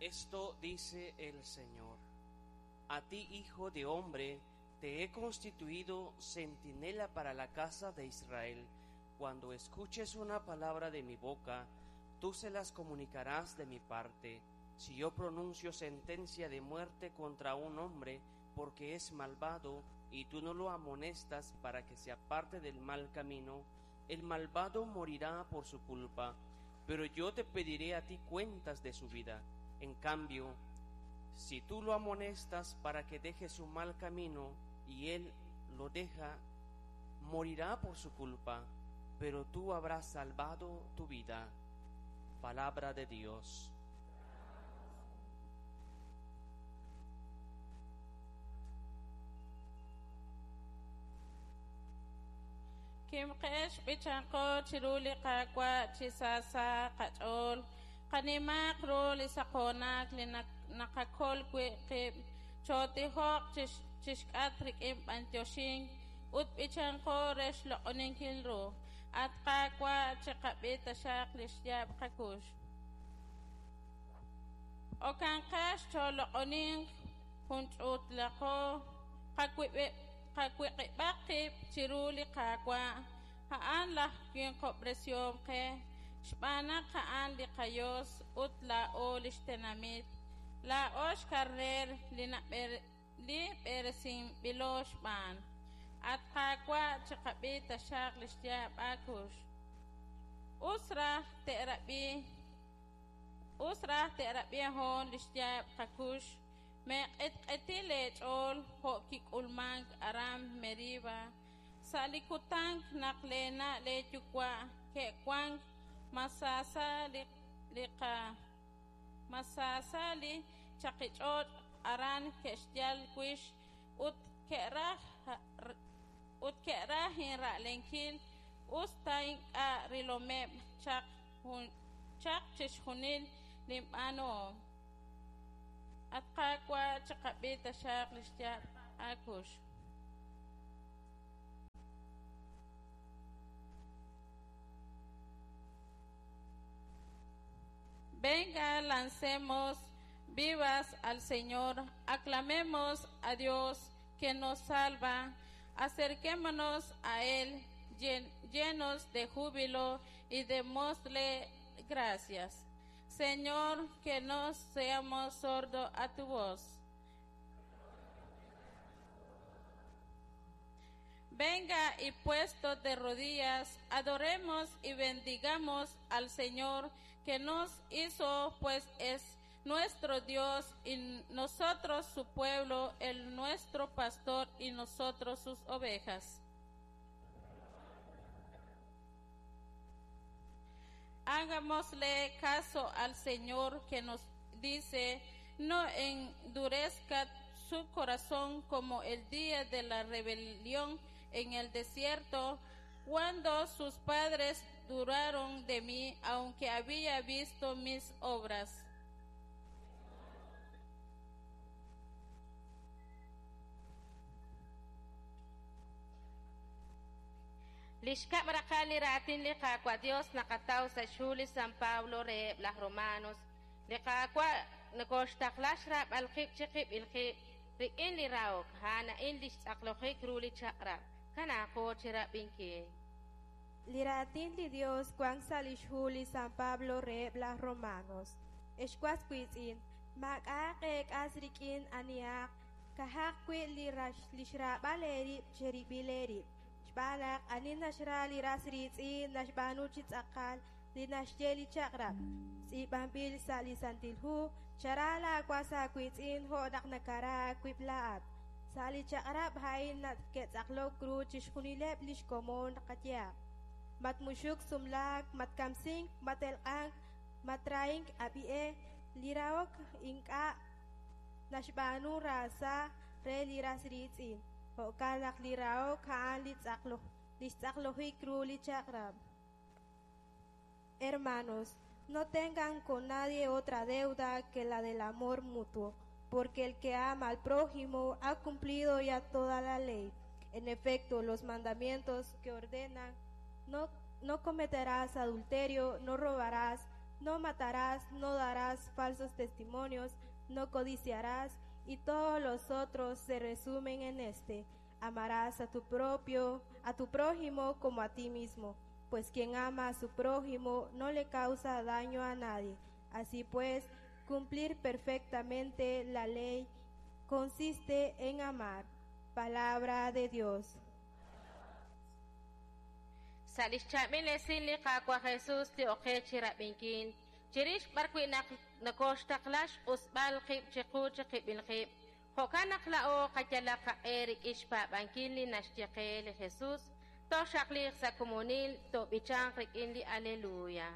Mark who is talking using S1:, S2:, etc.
S1: Esto dice el Señor. A ti, hijo de hombre, te he constituido centinela para la casa de Israel. Cuando escuches una palabra de mi boca, tú se las comunicarás de mi parte. Si yo pronuncio sentencia de muerte contra un hombre porque es malvado, y tú no lo amonestas para que se aparte del mal camino, el malvado morirá por su culpa, pero yo te pediré a ti cuentas de su vida. En cambio, si tú lo amonestas para que deje su mal camino y él lo deja, morirá por su culpa, pero tú habrás salvado tu vida. Palabra de Dios.
S2: Kimqex, b'ichanqo chiru li Qaawa' chi sa sa' qach'ool, qanimaaq ru li saqoonak li naqakol wi' qib', chootijoq chixk'atq rik'in b'antioxink ut b'ichanqo re xloq'oninkil ru. At Qaawa', chiqab'i taxaq li xyaab' qakux. Okanqex chooloq'oninq jun ch'uutlaqo qawiq'ib'aq qib' chiru li Qaawa', a'an laj winqob'resihom qe, xb'aan naq a'an li qaYos ut laa'o li xtenamit, laa'o xkarneer li b'eresinb'ilo xb'aan. At Qaawa', chiqab'i taxaq li xyaab' aakux. Us raj te'rab'i us raj te'rab'i hoon li xyaab' qakux, meeq'etq'eti leech'ool jo' kik'ulmank aran Meriba, sa' li kutan naq leena' leeyuwa' ke'wank Masasa li qa Masasa li chaqich'och' aran ke'xyal wix ut ke'raj ut ke'raj inra'lenkil us ta ink'a' rilomeb' chaq chaq chixjunil linb'aanuhom. At Qaawa', chiqab'i taxaq li xyaab' aakux. Venga, lancemos vivas al Señor, aclamemos a Dios que nos salva, acerquémonos a Él llenos de júbilo y démosle gracias. Señor, que no seamos sordos a tu voz. Venga y puesto de rodillas, adoremos y bendigamos al Señor que nos hizo, pues es nuestro Dios y nosotros su pueblo, el nuestro pastor y nosotros sus ovejas. Hagámosle caso al Señor que nos dice, no endurezca su corazón como el día de la rebelión en el desierto, cuando sus padres duraron de mí, aunque había visto mis obras.
S3: Li xkab' raqal li raatin li Qaawa' Dios naqataw sa' xhu li San Pablo reheb' laj Romanos. Li Qaawa' nokoxtaqla xraab'al qib' chiqib'il qib' rik'in li rahok, a'an a'in li xtz'aqlojik ru li chaq'rab'. Kanaaqo chirab'inkil.
S4: Li raatin li Dios wank sa' lix hu li San Pablo reheb' laj Romanos. Ex was wiitz'in, maak'a'aq eek'as rik'in anihaq, ka'aj wi' li li xraab'al eerib' cherib'il eerib'. Xb'aan naq ani naxra li ras riitz'in naxb'aanu chi tz'aqal li naxye li chaq'rab'. Tz'iib'anb'il sa' li Santil Hu, chara laawas aawiitz'in jo' naq nakara aawib' laa'at. Sa' li chaq'rab' a'in ke'tz'aqlok ru chixjunileb' li xkomon qayehaq. Matmuxuk sumlaak, matkamsink, matelq'ank, matrahink ab'i'e, li rahok ink'a' naxb'aanu raasa re li ras riitz'in. Jo'kan naq li rahok a'an li tz'aqloj li xtz'aqlojik ru li chaq'rab'. Hermanos, no tengan con nadie otra deuda que la del amor mutuo, porque el que ama al prójimo ha cumplido ya toda la ley. En efecto, los mandamientos que ordenan, no, no cometerás adulterio, no robarás, No matarás, no darás falsos testimonios, no codiciarás, y todos los otros se resumen en este. Amarás a tu propio, a tu prójimo como a ti mismo, pues quien ama a su prójimo no le causa daño a nadie. Así pues, cumplir perfectamente la ley consiste en amar. Palabra de Dios.
S3: Sa' lix chaab'il esil li Qaawa' Jesus li oqe chi rab'inkil, chirix b'ar wi' naq nokoxtaqla xq'usb'al qib' chiqu chiqib'il qib', jo'kan naq laa'o qayalaq qaq'e rik'in xpaab'ankil li naxye qe li Jesus, tooxaqliiq sa' komonil, toob'ichanq rik'in li Aleluya.